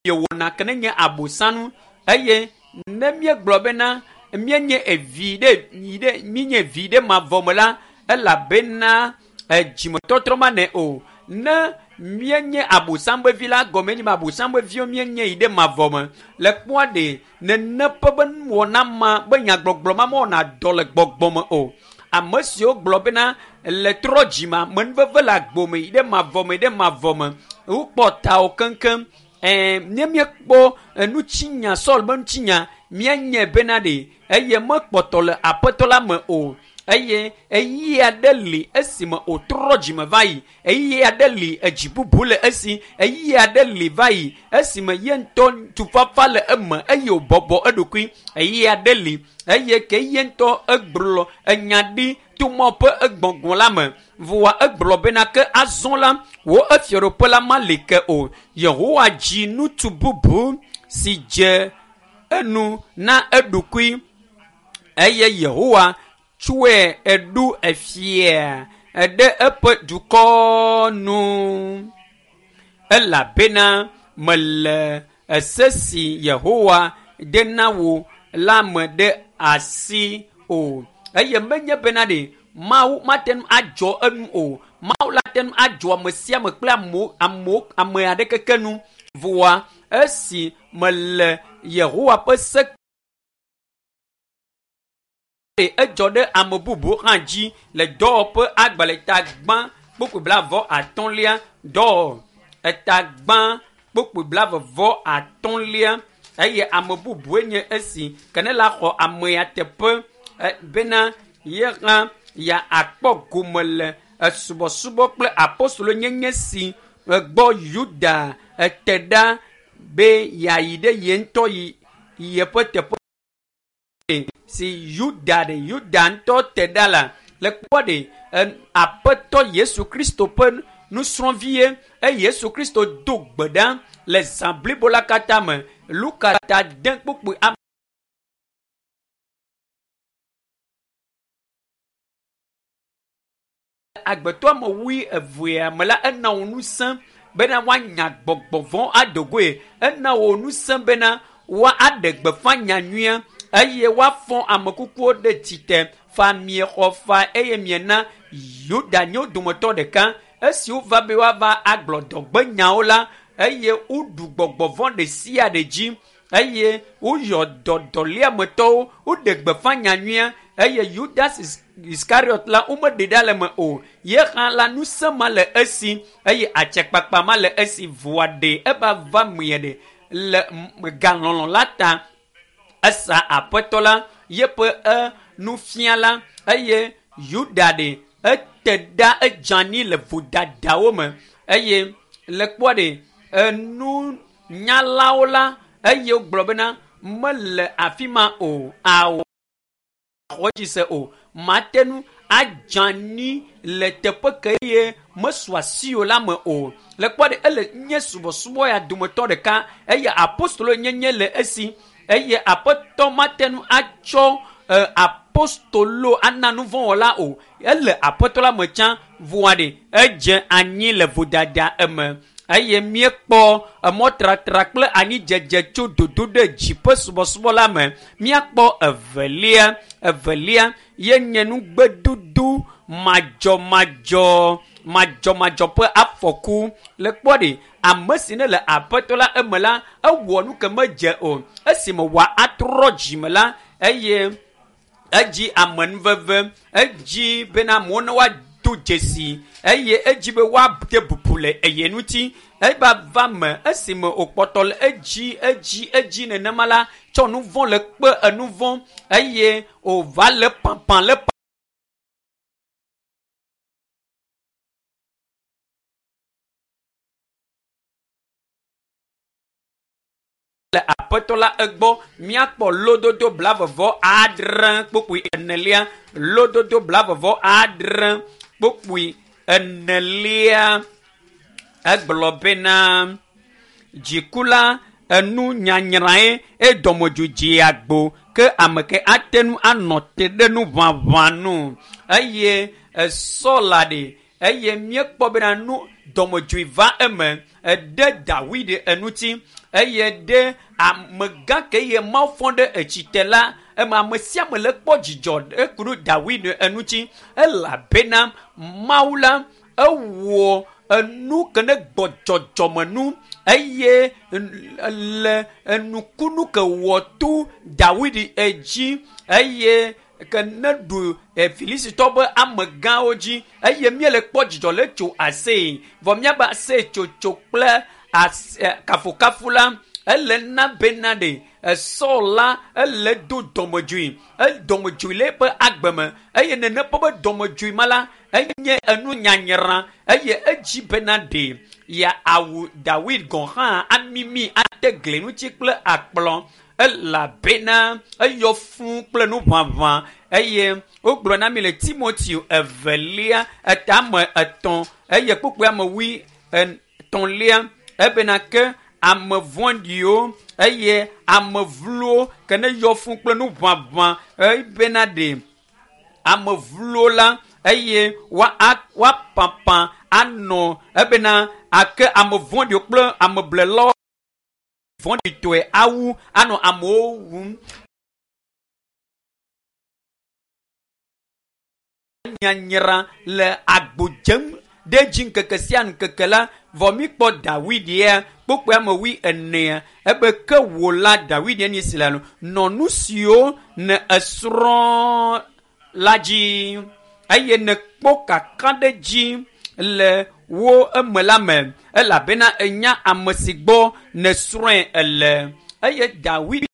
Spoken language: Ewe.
Miewɔna ke ne nye abosanu eye ne míegblɔ bena míenye evi ɖe yi ɖe míenye vi ɖe mavɔ me la elabena edzimetɔtrɔ manɛ o. Ne míenye abosam ƒe vi la gɔme enye be abosam ƒe viwo míenye yi ɖe mavɔ me. Le kpɔa ɖe nene ƒe be nuwɔna ma be nyagbɔgblɔ ma mewɔna dɔ le gbɔgbɔ me o. Ame siwo gblɔ bena le trɔ dzime amenuveve le agbo me yi ɖe mavɔ me yi ɖe mavɔ me wokpɔ tawo keŋkeŋ. Ne míekpɔ enutsinya Saul be ŋutinya míanye bena ɖe eye mekpɔtɔ le aƒetɔ la me o eye ɣeyiɣi aɖe li esime wòtrɔ dzime va yi ɣeyiɣi aɖe li edzi bubu le esi ɣeyiɣi aɖe li va yi esime ye ŋutɔ tufafa le eme eye wòbɔbɔ eɖokui ɣeyiɣi aɖe li eye ke ye ŋutɔ egblɔ enya ɖi to mɔ ƒe egbɔgbɔ la me voa egblɔ bena ke azɔ la wò efiaɖoƒe la mali ke o. Yehowa dzi ŋutsu bubu si dze enu na eɖokui eye Yehowa tsɔe eɖo efia ɖe eƒe dukɔ nu elabena mele ese si Yehowa de na wò la me ɖe asi o. Eye menye bena ɖe Mawu mate ŋu adzɔ enu o. Mawu la te ŋu adzɔ ame sia ame kple amewo amewo ame aɖeke ke nu. Voa esi mele Yehowa ƒe se edzɔ ɖe ame bubu hã dzi le dɔwɔƒe agbalẽ ta gbã kpukpui blaeve atɔ̃lia dɔ eta gbã kpukpui blaeve vɔ atɔ̃lia eye ame bubue nye esi ke ne la xɔ amea teƒe bena ye hã ya akpɔ gome le esubɔsubɔ kple apostolo nyenye si gbɔ Yuda ete ɖa be yeayi ɖe ye ŋutɔ yi yeƒe teƒe si Yuda ɖe Yuda ŋutɔ te ɖa la le kpɔ ɖe aƒetɔ Yesu Kristo ƒe nusrɔ̃vie eye Yesu Kristo do gbe ɖa le zã blibo la katã me. Luka ta de kpukpui ame agbetɔ ame wui evea me la ena wo ŋusẽ bena woanya gbɔgbɔ vɔ̃ adogoe. Ena wo ŋusẽ bena woaɖe gbeƒã nyanyuia eye woafɔ ame kukuwo ɖe tsitre fa miexɔ fa eye miena Yuda nye wo dometɔ ɖeka. Esi wova be woava agblɔ dɔgbenyawo la eye woɖu gbɔgbɔ vɔ̃ ɖe sia ɖe dzi eye woyɔ dɔ dɔléametɔwo woɖe gbeƒã nyanyuia eye Judas Iskariot la womeɖe ɖa le me o. Ye hã la ŋusẽ ma le esi eye atsekpakpa ma le esi voa ɖe eva va mie ɖe le galɔlɔ la ta esa aƒetɔ la yeƒe nufiala eye Yuda ɖe ete ɖa edze anyi le vodadawo me eye le kpɔa ɖe enunyalawo la eye wogblɔ bena mele afi ma o awɔ xɔ dzi se o mate ŋu adze anyi le teƒe ke ye mesu asi o la me o. Le kpɔ ɖe ele nye subɔsubɔ ya dometɔ ɖeka eye apostolo nyenye le esi eye aƒetɔ mate ŋu atsɔ apostolo ana nuvɔ̃wɔla o. Ele aƒetɔ la me tsã voa ɖe edze anyi le vodada eme eye míekpɔ emɔtratra kple anyidzedze tso dodo ɖe dziƒe subɔsubɔ la me. Míakpɔ evelia evelia ye nye nugbedudu madzɔmadzɔ madzɔmadzɔ ƒe afɔku. Le kpɔ ɖe ame si ne le aƒetɔ la eme la ewɔ nu ke medze o esime wòa atrɔ dzime la eye edzi amenuveve edzi bena amewo ne woado dzesi eye edzi be woade bubu le eye ŋuti eva va me esime wòkpɔtɔ le edzi edzi edzi nenema la tsɔ nu vɔ̃ le kpe enu vɔ̃ eye wòva le pãpã le le aƒetɔ la egbɔ míakpɔ lododo blaeve adre kpukpui enelia lododo blaeve adre kpukpui enelia egblɔ bena dziku la enu nyanyrãe edɔmedzoe agbo ke ame ke ate ŋu anɔ te ɖe nu ʋaʋã nu eye esɔ la ɖe eye míekpɔ bena nu Dɔmedzoe va eme eɖe Dawid eŋuti eye ɖe amegã ke ye Mawu fɔ ɖe etsite la eme ame sia ame le kpɔ dzidzɔ eku ɖe Dawid eŋuti elabena Mawu la ewɔ enu ke ne gbɔdzɔdzɔmenu eye le enukunu ke wɔ to Dawid edzi eye ke ne ɖu Filistitɔ be amegãwo dzi eye míele kpɔ dzidzɔ le tso aseye vɔ míabe aseye tsotso kple kafukafu la ele na bena ɖe Saul la ele do dɔmedzoe dɔmedzoe le eƒe agbe me eye nene ƒe be dɔmedzoe ma la enye enu nyanyra eye edzi bena ɖe ya awu Dawid gɔ̃ hã amimi ate gli ŋuti kple akplɔ elabena eyɔ fũu kple nuʋaʋã eye wogblɔ na mi le Timoteo evelia etame etɔ̃ eye kpukpui ame wui etɔ̃lia ebena ke ame vɔ̃ɖiwo eye ame vlowo ke ne yɔ fũu kple nuʋaʋã ebena ɖe ame vlowo la eye woapapã anɔ ebena ake ame vɔ̃ɖiwo kple ame blelawo vɔ̃ɖitɔe awu anɔ amewo wum. Nyanyra le agbo dzem ɖe dzi ŋkeke sia ŋkeke la vɔ mi kpɔ Dawid ya kpokpoe ame wui enea ebe ke wò la Dawid ya nye si la nɔ nu siwo ne esrɔ̃ la dzi eye ne kpɔ kakaɖedzi le wo eme la me elabena enya ame si gbɔ ne srɔ̃e ele eye Dawid.